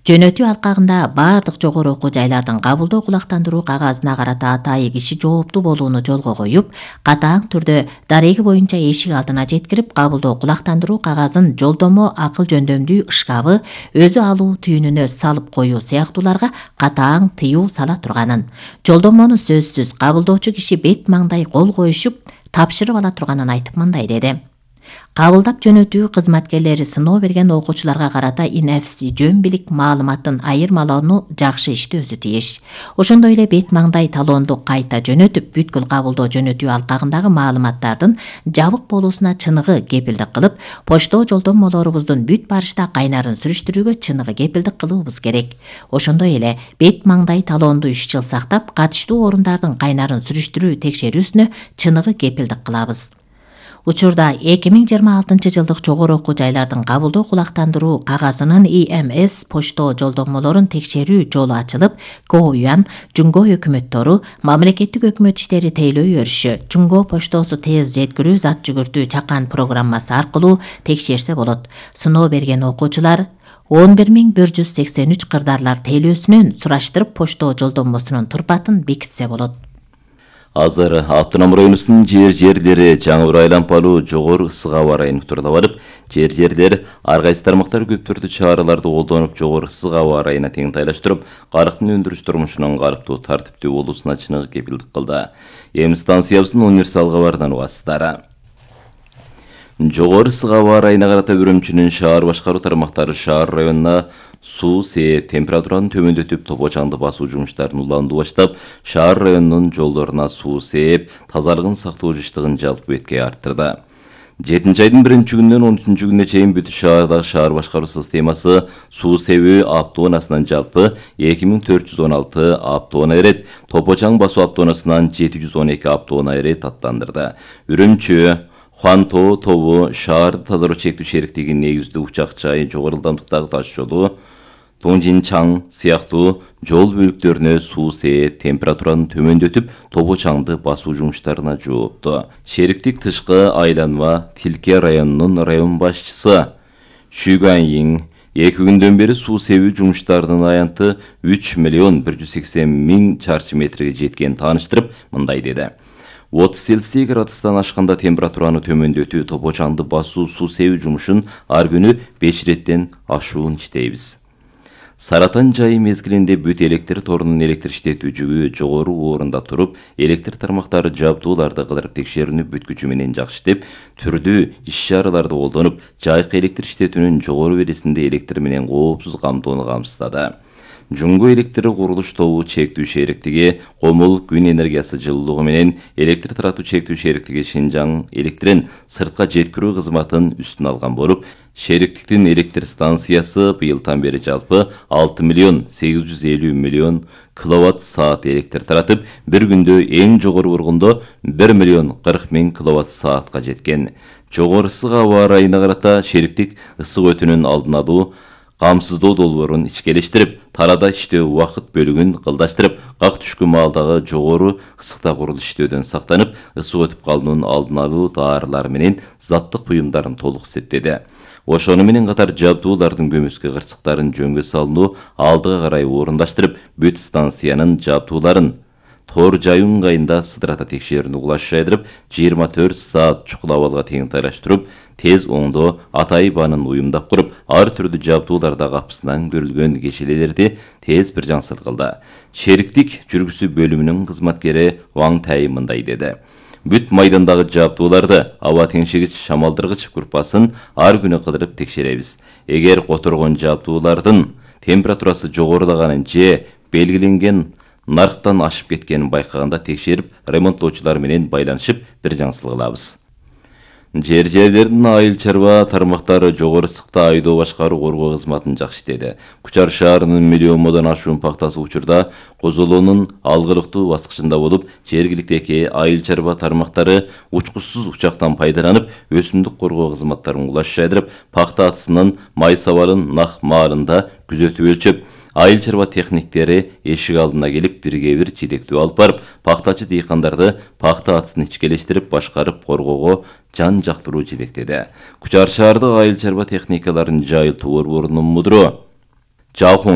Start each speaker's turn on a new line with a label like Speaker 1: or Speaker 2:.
Speaker 1: Жөнөтүү алкагында бардык жогору окуу жайлардын кабылдоо кулактандыруу кагазына карата атайы киши жооптуу болууну жолго коюп, катаң түрдө дареги боюнча эшик алдына жеткирип, кабылдоо кулактандыруу кагазын жолдомо акыл жөндөмдүү шкабы өзү алуу түйүнүнө салып коюу сыяктууларга катаң тыюу сала турганын, жолдомону сөзсүз кабылдоочу киши бет маңдай кол коюшуп тапшырып ала турганын айтып мындай деди. Кабылдап жөнөтүү кызматкерлери сыноо берген окуучуларга карата инефси жөн билик маалыматын айырмалоону жакшы иштөөсү тийиш. Ошондой эле бет маңдай талоонду кайта жөнөтүп, бүткүл кабылдоо жөнөтүү алкагындагы маалыматтардын жабык болуусуна чыныгы кепилдик кылып, почтоо жолдомолорубуздун бүт барышта кайнарын сүрүштүрүүгө чыныгы кепилдик кылуубуз керек. Ошондой эле бет маңдай талоонду 3 жыл сактап, катыштуу орундардын кайнарын сүрүштүрүү текшерүүсүнө чыныгы кепилдик кылабыз. Учурда 2026 жылдык жогору окуу жайлардын кабылдоо кулактандыруу кагазынын ИМС почтоо жолдомолорун текшерүү жолу ачылып, КОЮАМ, Жумго өкмөттөрү, мамлекеттик өкмөт иштери тейлөө өрүшү, Жумго поштосу тез жеткирүү зат жүгүртүү чакан программасы аркылуу текшерсе болот. Сыноо берген окуучулар 11183 кырдаарлар тейлөөсүнөн сураштырып почтоо жолдомосунун турпатын бекитсе болот.
Speaker 2: Азыр Автоном районунун жерлери жаңы бир айлампалуу жогору ысык аба ырайын турда барып, жерлер ар кайсы тармактар көп түрдүү чараларды колдонуп, жогору ысык аба ырайына тең тайлаштырып, карыктын өндүрүш турмушунун калыптуу тартиптүү болуусуна чыныгы кепилдик кылды. Эми станциябыздын универсал кабарынан угасыздар. Жогору ысык аба ырайына карата Үрүмчүнүн шаар башкаруу тармактары шаар районуна суу сээп, температураны төмөндөтүп, топочаңды басуу жумуштарын уланды баштап, шаар районунун жолдоруна суу сээп, тазалыгын сактоо жыштыгын жалпы бетке арттырды. 7 айдын 1-күнүнөн 13 күнүнө чейин бүт шаардагы шаар башкаруу системасы суу себүү автоунасынан жалпы 2416 автоунаа эрет, топочаң басуу автоунасынан 712 автоунаа эрет аттандырды. Үрүмчү Хуанто тобу шаарды тазалоо чектүү шериктигинин негиздүү учак чайы жогору ылдамдыктагы таш жолу, Тоңжинчаң сыяктуу жол бөлүктөрүнө суу сээп, температураны төмөндөтүп, топочаңды басуу жумуштарына жоопту. Шериктик тышкы айланма Тилке районунун район башчысы Шүгайин 2 күндөн бери суу себүү жумуштарынын аянты 3 миллион 180 миң чарчы метрге жеткенин тааныштырып, мындай деди. 30 Цельсий градустан ашканда температураны төмөндөтүү, топочаңды басуу, суу себүү жумушун ар күнү 5 реттен ашуун иштейбиз. Саратан жайы мезгилинде бүт электр торунун электр иштетүү жүгү жогору орунда туруп, электр тармактары жабдууларды кыдырып текшерүүнү бүт күчү менен жакшы иштеп, түрдүү иш-чараларды колдонуп, жайкы электр иштетүүнүн жогору бересинде электр менен коопсуз камтоону камсыздады. Жумго электр курулуш тобу чектүү шериктиги Комул күн энергиясы жылуулугу менен электр таратуу чектүү шериктиги Шинжаң электрин сыртка жеткирүү кызматын үстүнө алган болуп, шериктиктин электр станциясы быйылдан бери жалпы 6 миллион 850 миллион киловатт саат электр таратып, бир күндө эң жогору бургундо 1 миллион 40 миң киловатт саатка жеткен. Жогору ысык аба ырайына карата шериктик ысык өтүүнүн алдын алуу, камсыздоо долбоорун ичкелештирип, тарада иштөө убакыт бөлүгүн кылдаштырып, как түшкү маалдагы жогору ысыкта курулуш иштөөдөн сактанып, ысык өтүп калуунун алдын алуу даарылары менен заттык буюмдарын толук эсептеди. Ошону менен катар жабдуулардын көмүскө кырсыктарын жөнгө салынуу алдыга карай орундаштырып, бүт станциянын жабдууларын тор жай ыңгайында сыдырата текшерүүнү кулаш жайдырып, 24 саат чукул абалга тең тайлаштырып, тез оңдоо атайбанын уюмдап куруп, ар түрдүү жабдууларда капысынан көрүлгөн кечелелерди тез бир жаңсыл кылды. Шериктик жүргүзүү бөлүмүнүн кызматкери Ваң Тай мындай деди. Бүт майдандагы жабдууларды аба теңшегич шамалдыргыч группасын ар күнү кыдырып текшеребиз. Эгер которгон жабдуулардын температурасы жогорулаганын же белгиленген нарктан ашып кеткенин байкаганда текшерип, ремонттоочулар менен байланышып бир жаңсыл кылабыз. Жерлердин айыл чарба тармактары жогору ысыкта айдоо башкаруу коргоо кызматын жакшы иштеди. Кучар шаарынын миллиондон ашуун пактасы учурда козолоонун алгылыктуу баскычында болуп, жергиликтеги айыл чарба тармактары учкучсуз учактан пайдаланып, өсүмдүк коргоо кызматтарын кулаш жайдырып, пакта атысынын май сабалын нак маалында күзөтүп өлчөп, айыл чарба техниктери эшик алдына келип бирге-бир жетектөө алып барып, пактачы дыйкандарды пакта атысын ичкелештирип башкарып коргоого жан жактыруу жетектеди. Кучар шаардык айыл чарба техникаларын жайылтуу борборунун мудуру